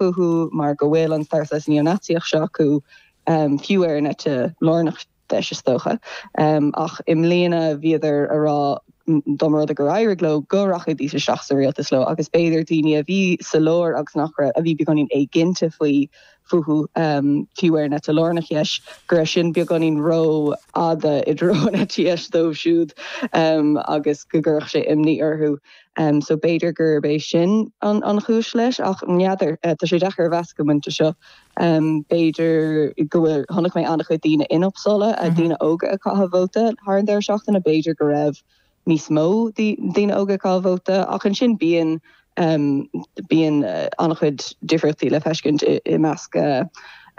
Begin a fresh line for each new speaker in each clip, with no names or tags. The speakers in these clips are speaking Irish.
fúthu mar go bhfuil an stair saghas neo-Naitsíoch seo acu, fiú ar an eite lárnach deis is dócha. Ach i mbliana bhíodar a rá dá mba rud é gur éirigh leo go rachaidís isteach sa rialtas leo agus b'fhéidir daoine a bhí sa lár agus nach raibh, a bhí beagáinín éiginnte faoi fúthu, fiú ar an eite lárnach dheis, go raibh sin beagáinín ró-fhada i dtreo an eite dheis dóibh siúd agus go gcuirfeadh sé imní orthu. So b'fhéidir gurb é sin an chúis leis ach n'fheadar, tá sé deacair a mheas ag an bpointe seo. B'fhéidir go bhfuil, chonaic mé an-chuid daoine in Uppsala, daoine óga ag caitheamh vóta thar an deireadh seachtaine, b'fhéidir go raibh níos mó daoine óga ag caitheamh vóta ach ansin bíonn, bíonn an-chuid difríochtaí le feiscint i measc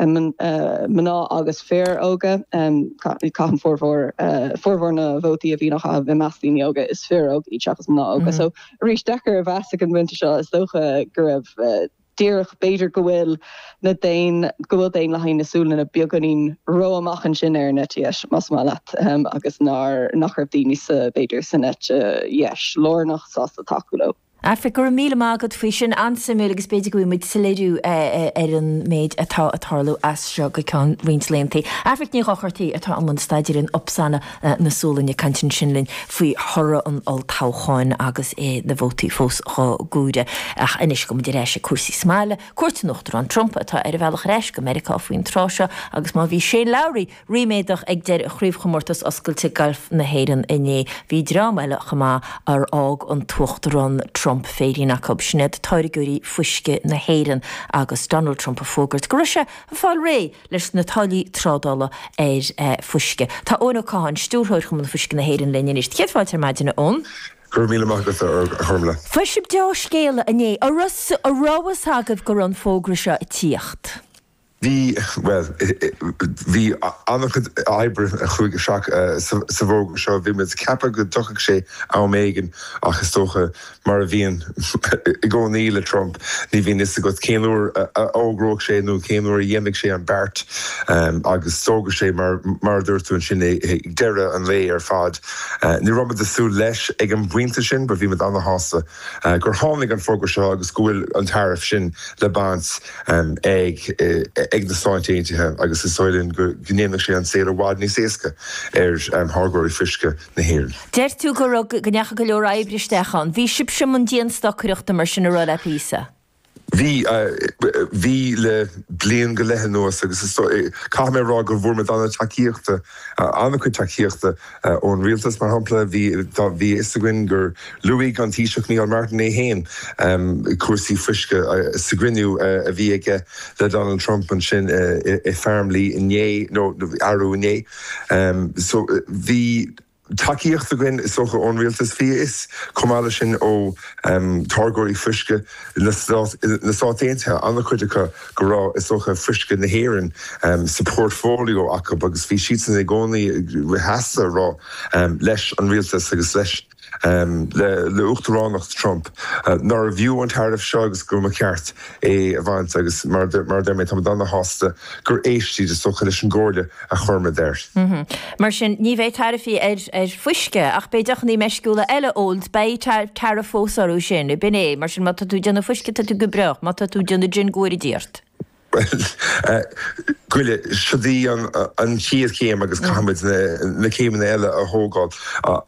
mná agus fir óga. Caitheann formhór, formhór na vótaí a bhíonn á chaitheamh i measc daoine óga, is fir óga iad seachas mná óga. So arís, deacair a mheas ag an bpointe seo, is dócha go raibh. díreach, b'fhéidir go bhfuil na daon, go bhfuil Daonlathaigh na Sualainne beagáinín ró-amach ansin ar an eite dheis, más maith leat, agus nár, nach raibh daoine sa, b'fhéidir, san eite dheis lárnach sásta tacú leo.
Aifric, go raibh míle maith agat faoi sin. An-suimiúil agus b'fhéidir go bhfaighidh muid soiléiriú ar an méid atá ag tarlú as seo go ceann roinnt laethanta. Aifric Ní Dhochartaigh atá i mbun staidéir in Uppsala na Sualainne ag caint ansin linn faoi thoradh an olltoghcháin agus na vótaí fós á gcomhaireamh. Ach anois gabhfaidh muid ar ais ag cúrsaí sa mbaile. Cuairt an Uachtaráin Trump atá ar a bhealach ar ais go Meiriceá faoin tráth seo agus má bhí Shane Lowry ríméadach ag deireadh Chraobhchomórtas Oscailte Gailf na hÉireann inné, bhí dream eile chomh maith ar fhág an tUachtarán Trump féirín acu. Sin iad táirgeoirí fuisce na hÉireann agus Donald Trump ag fógairt go raibh sé ag fáil réidh leis na táillí trádála ar fuisce. Tá Eoin Ó Catháin, Stiúrthóir Chumann Fuisce na hÉireann linn anois. Céad fáilte ar maidin, a Eoin.
Go raibh míle maith agat, a Ghormfhlaith.
Fuair sibh deá-scéala inné. An raibh a fhios agaibh go raibh an fógra seo ag tíocht?
Bhí, bhuel, bhí an-chuid oibre a chuaigh isteach sa bhfógra seo. Bhí muid ag ceapadh go dtiocfadh sé am éigin ach is dócha Mar a bhíonn i gcónaí le Trump, ní bhíonn fhios agat cén uair a fhógróidh sé nó cén uair a dhéanfaidh sé an beart agus d'fhógair sé, mar a dúirt tú ansin, ag deireadh an lae ar fad. Ní raibh muid ag súil leis ag an bpointe sin but bhí muid ana-shásta gur tháinig an fógra seo agus go bhfuil an tariff sin le baint ag ag na Stáit Aontaithe agus is dóigh linn go ndéanfaidh sé an saol i bhfad níos éasca ar tháirgeoirí fuisce. na
hÉireann. Deir tú go raibh, go ndeachaigh go leor oibre isteach ann. Bhí sibhse i mbun dianstocaireachta mar sin a rá le píosa?
Bhí, bhí le bliain go leith anuas agus is dóigh, caithfidh mé a rá go bhfuair muid an-tacaíochta, an-chuid tacaíochta ón rialtas mar shampla. Bhí, tá, bhí a fhios againn gur luaigh an Taoiseach Micheál Martin é féin cúrsaí fuisce sa gcruinniú a bhí aige le Donald Trump ansin i Farmleigh inné, nó arú inné. So bhí tacaíocht againn is dócha ón rialtas. Bhí a fhios chomh maith leis sin ó táirgeoirí fuisce na Stát Aontaithe, an-chuid acu go raibh is dócha fuisce na hÉireann sa portfolio acu agus bhí siadsan i gcónaí sásta a rá leis an rialtas agus leis le Uachtaránacht Trump nárbh fhiú an tariff seo agus go mba cheart é a bhaint agus mar a deir mé, táimid ana-shásta gur éist siad is dócha leis an gcomhairle a chuir muid air.
Mar sin, ní bheidh taraifí ar fuisce ach beidh deochanna meisciúla eile óil, beidh tariff fós orthu sin, b'in é. Mar sin, má tá tú ag déanamh fuisce, tá tú go breá, má tá tú ag déanamh gin, go bhfóire Dia ort.
Bhuel, goile, siod í an chéad chéim agus caithfimid na céimeanna eile a thógáil.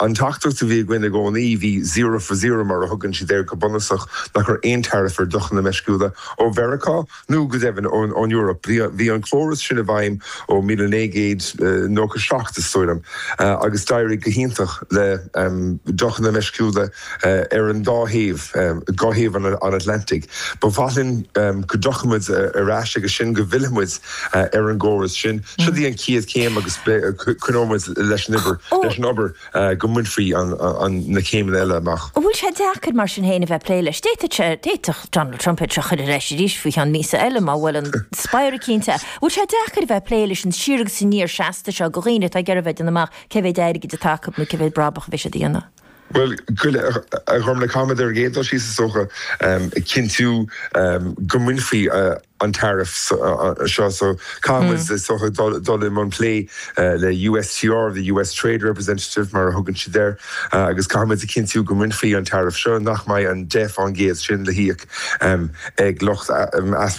An teachtaireacht a bhí againn i gcónaí, bhí zero for zero mar a thugann siad air go bunúsach, nach raibh aon tariff ar deochanna meisciúla ó Mheiriceá nó go deimhin ón Eoraip. Bhí an córas sin i bhfeidhm ó 1997 is dóigh liom agus d'éirigh go hiontach le deochanna meisciúla ar an dá thaobh, dhá thaobh an Atlantaigh. Ba mhaith linn go dtiocfaidh muid ar ais agus sin, go bhfillfidh muid ar an gcóras sin. Siod í an chéad chéim agus coinneoidh muid leis an obair, leis an obair go mbainfí na céimeanna eile amach.
An bhfuil sé deacair mar sin féin a bheith ag plé leis? D'fhéadfadh sé, d'fhéadfadh Donald Trump é seo a chur ar ais arís faoi cheann míosa eile má bhuaileann spiaire eicínt é. An bhfuil sé deacair a bheith ag plé leis an siar agus aniar seasta seo do dhaoine atá ag iarraidh a bheith ag déanamh amach cé mhéid airgid atá acu nó cé mhéid brabach a bheidh siad a dhéanamh?
Bhuel, a Ghormfhlaith, caithfimid ar an gcéad dul síos, is dócha, cinntiú go mbainfí an tariff seo. So, caithfimid, is dócha, dul i mbun plé le USTR, the US Trade Representative, mar a thugann siad air, agus caithfimid a chinntiú go mbainfí an tariff seo, nach mbeidh an 10% sin le híoc ag lucht easpórtála.